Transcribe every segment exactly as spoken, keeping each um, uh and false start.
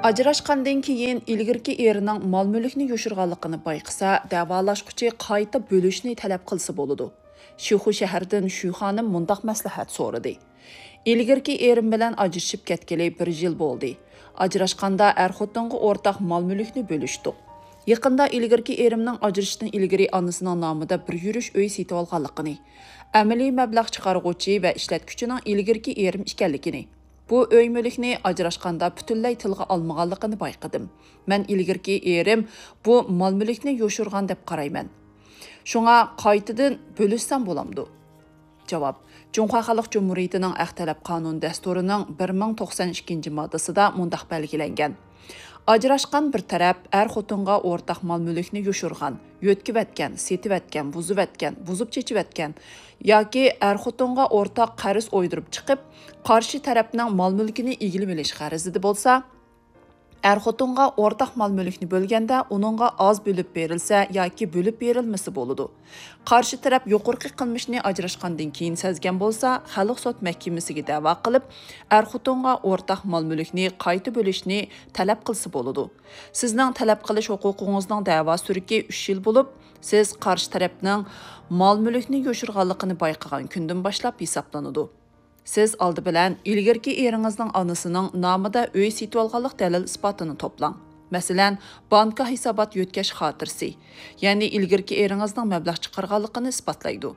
ئاجراشقاندىن كېيىن ئىلگىرىكى ئېرىنىڭ مال-مۈلۈكنى يوشۇرغانلىقىنى بايقىسا، دەۋالاشقۇچى قايتا بۆلۈشنى تەلەپ قىلسا بولىدۇ. شىخۇ شەھىرىدىن شۈ خانىم مۇنداق مەسلىھەت سورىدى: ئىلگىرىكى ئېرىم بىلەن ئاجرىشىپ كەتكىلى بىر يىل بولدى. ئاجراشقاندا ئەر-خوتۇنغا ئورتاق مال-مۈلۈكنى بۆلۈشتۇق. يېقىندا ئىلگىرىكى ئېرىمنىڭ ئاجرىشىشتىن ئىلگىرى ئانىسىنىڭ نامىدا بىر يۈرۈش ئۆي سېتىۋالغانلىقىنى، ئەمەلىي مەبلەغ چىقارغۇچى ۋە ئىشلەتكۈچىنىڭ ئىلگىرىكى ئېرىم ئىكەنلىكىنى، بۇ ئۆي مۈلۈكنى ئاجراشقاندا پۈتۈنلەي تىلغا ئالمىغانلىقىنى بايقىدىم. مەن ئىلگىرىكى ئېرىم بۇ مال-مۈلۈكنى يوشۇرغان دەپ قارايمەن. شۇڭا قايتىدىن بۆلۈشسەم بولامدۇ؟ جاۋاب: جۇڭخۇا خەلق جۇمھۇرىيىتىنىڭ ئەخ تەلەپ قانۇن دەستۇرىنىڭ بىر مىڭ توقسان ئىككىنچى ماددىسىدا مۇنداق بەلگىلەنگەن: ئاجراشقان بىر تەرەپ ئەر-خوتۇنغا ئورتاق مال-مۈلۈكنى يوشۇرغان، يۆتكىۋەتكەن، سېتىۋەتكەن، بۇزۇۋەتكەن، بۇزۇپ چېچىۋەتكەن ياكى ئەر-خوتۇنغا ئورتاق قەرز ئويدۇرۇپ چىقىپ، قارشى تەرەپنىڭ مال-مۈلكىنى ئىگىلىۋېلىش غەرىزىدە بولسا، ئەر-خوتۇنغا ئورتاق مال-مۈلۈكنى بۆلگەندە ئۇنىڭغا ئاز بۆلۈپ بېرىلسە ياكى بۆلۈپ بېرىلمىسە بولىدۇ. قارشى تەرەپ يۇقىرىقى قىلمىشنى ئاجراشقاندىن كېيىن سەزگەن بولسا، خەلق سوت مەھكىمىسىگە دەۋا قىلىپ، ئەر-خوتۇنغا ئورتاق مال-مۈلۈكنى قايتا بۆلۈشنى تەلەپ قىلسا بولىدۇ. سىزنىڭ تەلەپ قىلىش ھوقۇقىڭىزنىڭ دەۋا سۈرۈكى ئۈچ يىل بولۇپ، سىز قارشى تەرەپنىڭ مال-مۈلۈكنى يوشۇرغانلىقىنى بايقىغان كۈندىن باشلاپ ھېسابلىنىدۇ. سىز ئالدى بىلەن ئىلگىرىكى ئېرىڭىزنىڭ ئانىسىنىڭ نامىدا ئۆي سېتىۋالغانلىق دەلىل-ئىسپاتىنى توپلاڭ. مەسىلەن، بانكا ھېسابات يۆتكەش خاتىرىسى، يەنى ئىلگىرىكى ئېرىڭىزنىڭ مەبلەغ چىقارغانلىقىنى ئىسپاتلايدۇ.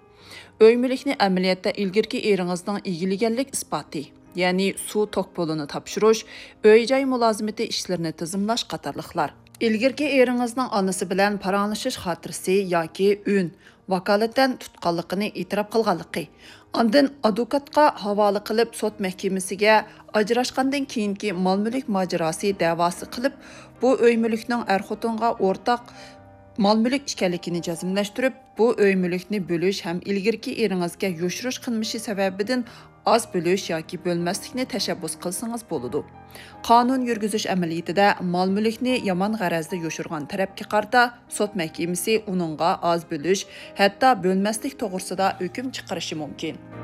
ئۆي مۈلۈكنى ئەمەلىيەتتە ئىلگىرىكى ئېرىڭىزنىڭ ئىگىلىگەنلىك ئىسپاتى، يەنى سۇ توك پۇلىنى تاپشۇرۇش، ئۆي-جاي مۇلازىمىتى ئىشلىرىنى تىزىملاش قاتارلىقلار. ئىلگىرىكى ئېرىڭىزنىڭ ئانىسى بىلەن پاراڭلىشىش خاتىرىسى ياكى ئۈن، ۋاكالىتەن تۇتقانلىقىنى ئېتىراپ قىلغانلىقى، ئاندىن ئادۋوكاتقا ھاۋالە قىلىپ، سوت مەھكىمىسىگە ئاجراشقاندىن كېيىنكى مال-مۈلۈك ماجىراسى دەۋاسى قىلىپ، بۇ ئۆي مۈلۈكنىڭ ئەر-خوتۇنغا ئورتاق مال-مۈلۈك ئىكەنلىكىنى جەزملەشتۈرۈپ، بۇ ئۆي مۈلۈكنى بۆلۈش ھەم ئىلگىرىكى ئېرىڭىزگە يوشۇرۇش قىلمىشى سەۋەبىدىن ئاز بۆلۈش ياكى بۆلمەسلىكنى تەشەببۇس قىلسىڭىز بولىدۇ. قانۇن يۈرگۈزۈش ئەمەلىيىتىدە مال-مۈلۈكنى يامان غەرەزدە يوشۇرغان تەرەپكە قارىتا سوت مەھكىمىسى ئۇنىڭغا ئاز بۆلۈش، ھەتتا بۆلمەسلىك توغرىسىدا ھۆكۈم چىقىرىشى مۇمكىن.